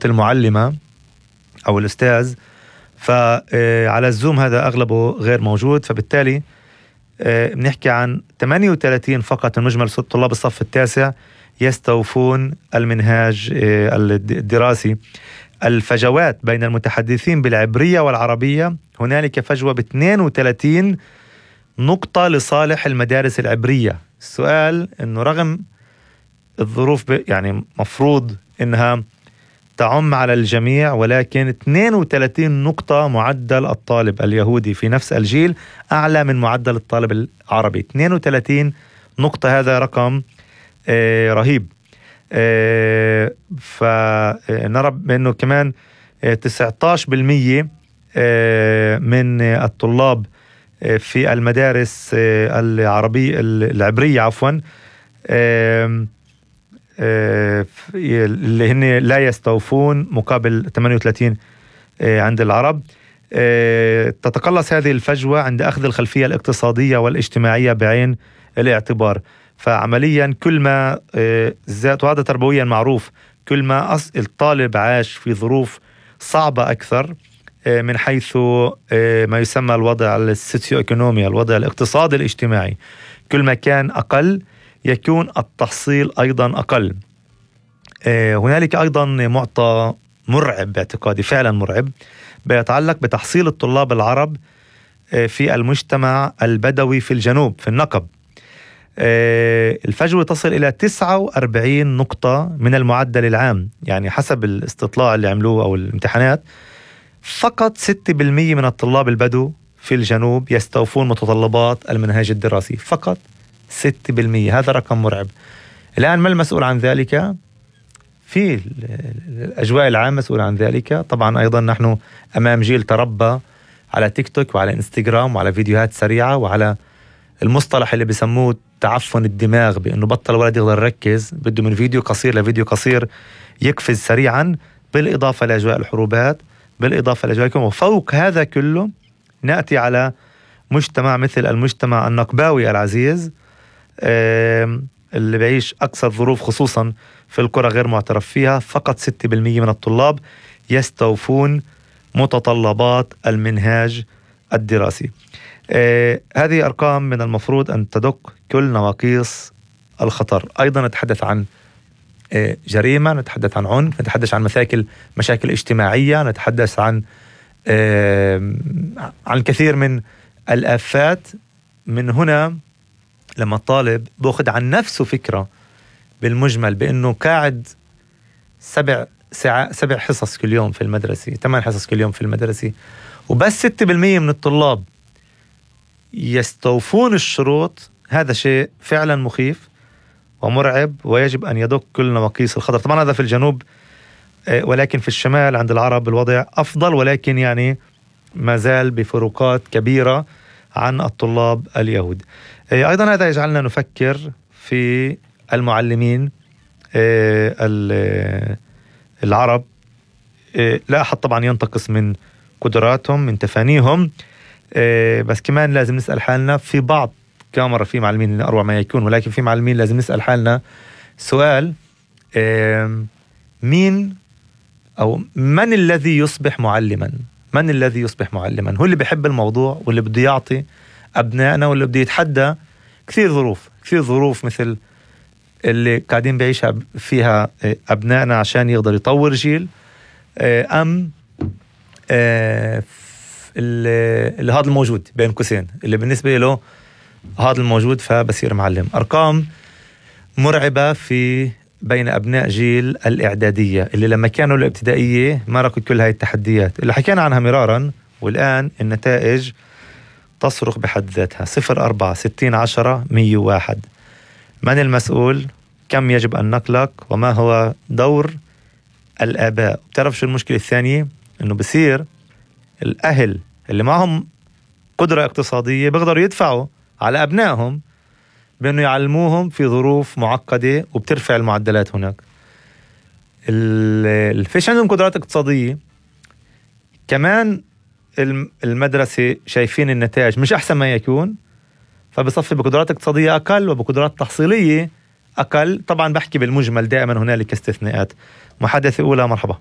المعلمة أو الأستاذ، فعلى الزوم هذا أغلبه غير موجود، فبالتالي بنحكي عن 38 فقط من مجمل طلاب الصف التاسع يستوفون المنهاج الدراسي. الفجوات بين المتحدثين بالعبرية والعربية هنالك فجوة ب32 نقطة لصالح المدارس العبرية. السؤال إنه رغم الظروف يعني مفروض إنها تعم على الجميع، ولكن 32 نقطة معدل الطالب اليهودي في نفس الجيل أعلى من معدل الطالب العربي. 32 نقطة، هذا رقم رهيب. فنرى بأنه كمان 19% من الطلاب في المدارس العبرية اللي هن لا يستوفون مقابل 38 عند العرب. تتقلص هذه الفجوة عند أخذ الخلفية الاقتصادية والاجتماعية بعين الاعتبار. فعمليا كل ما زاد، وهذا تربويا معروف، كل ما الطالب عاش في ظروف صعبة أكثر من حيث ما يسمى الوضع السوسيو ايكونومي، الوضع الاقتصادي الاجتماعي، كل ما كان أقل يكون التحصيل أيضا أقل. هنالك أيضا معطى مرعب باعتقادي، فعلا مرعب، بيتعلق بتحصيل الطلاب العرب في المجتمع البدوي في الجنوب في النقب. الفجوة تصل إلى 49 نقطة من المعدل العام، يعني حسب الاستطلاع اللي عملوه أو الامتحانات فقط 6% من الطلاب البدو في الجنوب يستوفون متطلبات المنهاج الدراسي، فقط 6%. هذا رقم مرعب. الآن ما المسؤول عن ذلك؟ في الأجواء العامة مسؤول عن ذلك. طبعا أيضا نحن أمام جيل تربى على تيك توك وعلى انستغرام وعلى فيديوهات سريعة وعلى المصطلح اللي بيسموه تعفن الدماغ، بأنه بطل ولد يقدر يركز، بده من فيديو قصير لفيديو قصير يقفز سريعا، بالإضافة لأجواء الحروبات، بالإضافة لأجواء وفوق هذا كله نأتي على مجتمع مثل المجتمع النقباوي العزيز اللي بيعيش أكثر ظروف، خصوصا في القرى غير معترف فيها. فقط 6% من الطلاب يستوفون متطلبات المنهاج الدراسي. هذه أرقام من المفروض أن تدق كل نواقيس الخطر. أيضا نتحدث عن جريمة، نتحدث عن عنف، نتحدث عن مشاكل اجتماعية، نتحدث عن الكثير من الآفات. من هنا لما الطالب بأخذ عن نفسه فكرة بالمجمل بأنه قاعد 7 حصص كل يوم في المدرسة، 8 حصص كل يوم في المدرسة، وبس 6% من الطلاب يستوفون الشروط، هذا شيء فعلا مخيف ومرعب ويجب أن يدق كل نواقيس الخطر. طبعا هذا في الجنوب، ولكن في الشمال عند العرب الوضع أفضل، ولكن يعني ما زال بفروقات كبيرة عن الطلاب اليهود. أيضا هذا يجعلنا نفكر في المعلمين العرب. لا أحد طبعا ينتقص من قدراتهم، من تفانيهم، بس كمان لازم نسأل حالنا، في بعض كاميرا في معلمين أروع ما يكون، ولكن في معلمين لازم نسأل حالنا سؤال: مين أو من الذي يصبح معلما؟ من الذي يصبح معلما؟ هو اللي بيحب الموضوع واللي بده يعطي أبنائنا واللي بده يتحدى كثير ظروف مثل اللي قاعدين بعيشها فيها أبنائنا عشان يقدر يطور جيل، أم اللي هذا الموجود بين قوسين اللي بالنسبة له هذا الموجود فبصير معلم. أرقام مرعبة في بين أبناء جيل الإعدادية اللي لما كانوا الابتدائية ماركوا كل هاي التحديات اللي حكينا عنها مرارا، والآن النتائج تصرخ بحد ذاتها. 0-4 60-10 101. من المسؤول؟ كم يجب أن نقلق؟ وما هو دور الآباء؟ بتعرف شو المشكلة الثانية؟ إنه بصير الأهل اللي معهم قدرة اقتصادية بيقدروا يدفعوا على أبنائهم بأنه يعلموهم في ظروف معقدة وبترفع المعدلات هناك. فيش عندهم قدرات اقتصادية، كمان المدرسة شايفين النتائج مش أحسن ما يكون، فبصفي بقدرات اقتصادية أقل وبقدرات تحصيلية أقل. طبعا بحكي بالمجمل، دائما هنالك استثناءات. محادثة أولى، مرحبا.